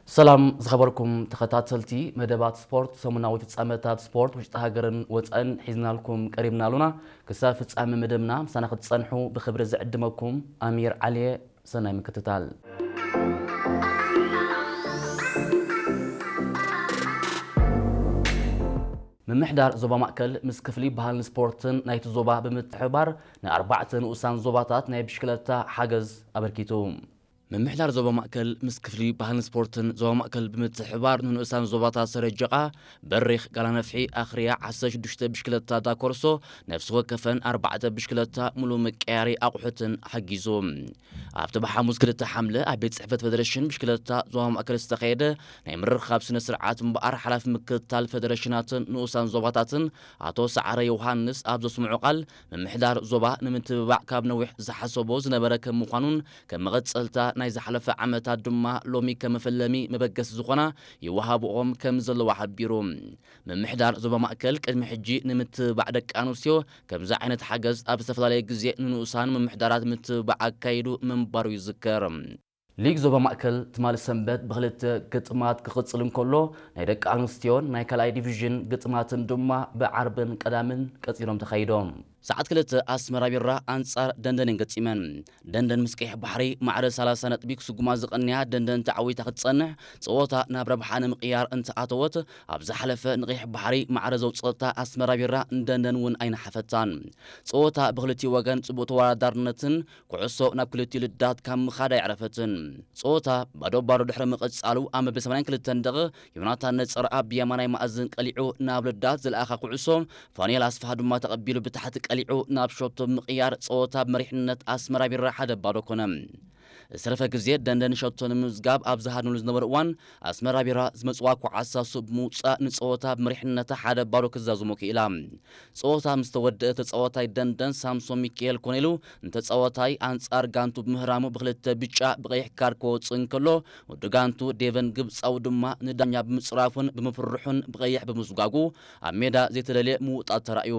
ሰላም ዝኸበርኩም ተኸታተልቲ መደባት ስፖርት፣ ሰሙናዊ ፍጻመታት ስፖርት ውሽጢ ሃገርን ወጻእን ሒዝናልኩም ቀሪብና ኣሉና። ክሳብ ፍጻመ መደብና ምሳና ክትጸንሑ ብኽብሪ ዝዕድመኩም ኣሚር ዓሊየ። ሰናይ ምክትታል። ምምሕዳር ዞባ ማእከል ምስ ክፍሊ ባህልን ስፖርትን ናይቲ ዞባ ብምትሕብባር ንኣርባዕተ ንኡሳን ዞባታት ናይ ብሽክለታ ሓገዝ ኣበርኪቱ። ምምሕዳር ዞባ ማእከል ምስ ክፍሊ ባህልን ስፖርትን ዞባ ማእከል ብምትሕብባር ንንኡሳን ዞባታት ሰረጀቓ፣ በሪኽ፣ ጋላነፍሒ፣ ኣኽርያ ዓሰርተ ሽዱሽተ ብሽክለታ ዳኮርሶ፣ ነፍሲ ወከፈን ኣርባዕተ ብሽክለታ፣ ሙሉ መቀያሪ ኣቑሑትን ሓጊዙ። ኣብቲ ብሓሙስ ክልተ ሓምለ ኣብ ቤት ጽሕፈት ፌደሬሽን ብሽክለታ ዞባ ማእከል ዝተኻየደ ናይ ምርኻብ ስነ ስርዓት እምበኣር፣ ሓላፊ ምክትታል ፌደሬሽናትን ንኡሳን ዞባታትን ኣቶ ሰዓረ ዮሃንስ ኣብ ዘስምዖ ቃል፣ ምምሕዳር ዞባ ንምትብባዕ ካብ ነዊሕ ዝሓሰቦ ዝነበረ ከም ምዃኑን፣ ከም መቐጸልታ ናይ ዝሓለፈ ዓመታት ድማ ሎሚ ከም መፈለሚ መበገሲ ዝኾና ይወሃብኦም ከም ዘለዋ ሓቢሩ። ምምሕዳር ዞባ ማእከል ቅድሚ ሕጂ ንምትብባዕ ደቂ ኣንስትዮ ከምዚ ዓይነት ሓገዝ ኣብ ዝተፈላለየ ግዜ ንንኡሳን ምምሕዳራት ምትብባዕ ኣካይዱ ምንባሩ ይዝከር። ሊግ ዞባ ማእከል ትማሊ ሰንበት ብክልተ ግጥማት ክቕጽል እንከሎ፣ ናይ ደቂ ኣንስትዮን ናይ ካልኣይ ዲቪዥን ግጥማትን ድማ ብዓርብን ቀዳምን ቀጺሎም ተኻይዶም። ሰዓት ክልተ ኣስመራ ቢራ ኣንጻር ደንደን እየን ገጢመን። ደንደን ምስ ቀይሕ ባሕሪ ማዕረ ሰላሳ ነጥቢ ክስጉማ ዝቐንያ ደንደን ተዓዊታ ክትጸንሕ፣ ጸወታ ናብ ረብሓ ንምቕያር እንተኣተወት፣ ኣብ ዝሓለፈ ንቀይሕ ባሕሪ ማዕረ ዘውጸታ ኣስመራ ቢራ ንደንደን እውን ኣይነሓፈታን። ጸወታ ብክልቲኡ ወገን ጽቡቕ ተወዳዳርነትን ኩዕሶ ናብ ክልቲኡ ልዳት ካብ ምኻድ ኣየዕረፈትን። ጸወታ ባዶ ባዶ ድሕሪ ምቕጻሉ፣ ኣብ መበል ሰማንያን ክልተን ደቒቕ ዮናታን ነጸርኣብ ብየማናይ ማእዝን ቀሊዑ ናብ ልዳት ዝለኣኻ ኩዕሶ፣ ፋኑኤል ኣስፍሃ ድማ ተቐቢሉ ብታሕቲ ቀሊዑ ናብ ሸቶ ብምቕያር፣ ጸወታ ብመሪሕነት ኣስመራ ቢራ ሓደ ባዶ ኮነ። ዝተረፈ ግዜ ደንደን ሸቶ ንምምዝጋብ ኣብ ዝሃድኑሉ ዝነበረ እዋን፣ ኣስመራ ቢራ ዝመጽዋ ኳዕሳ ስብ ብምውጻእ ንጸወታ ብመሪሕነታ ሓደ ባዶ ክዛዝሞ ክኢላ። ጸወታ ምስ ተወደአ፣ ተጻዋታይ ደንደን ሳምሶን ሚካኤል ኮነ ኢሉ ንተጻዋታይ ኣንጻር ጋንቱ ብምህራሙ ብክልተ ብጫ ብቐይሕ ካርድ ክወጽእ እንከሎ፣ ወዲ ጋንቱ ዴቨን ግብጻዊ ድማ ንዳኛ ብምጽራፉን ብምፍርሑን ብቐይሕ ብምስጓጉ ኣብ ሜዳ ዘይተደልየ ምውጣት ተራእዩ።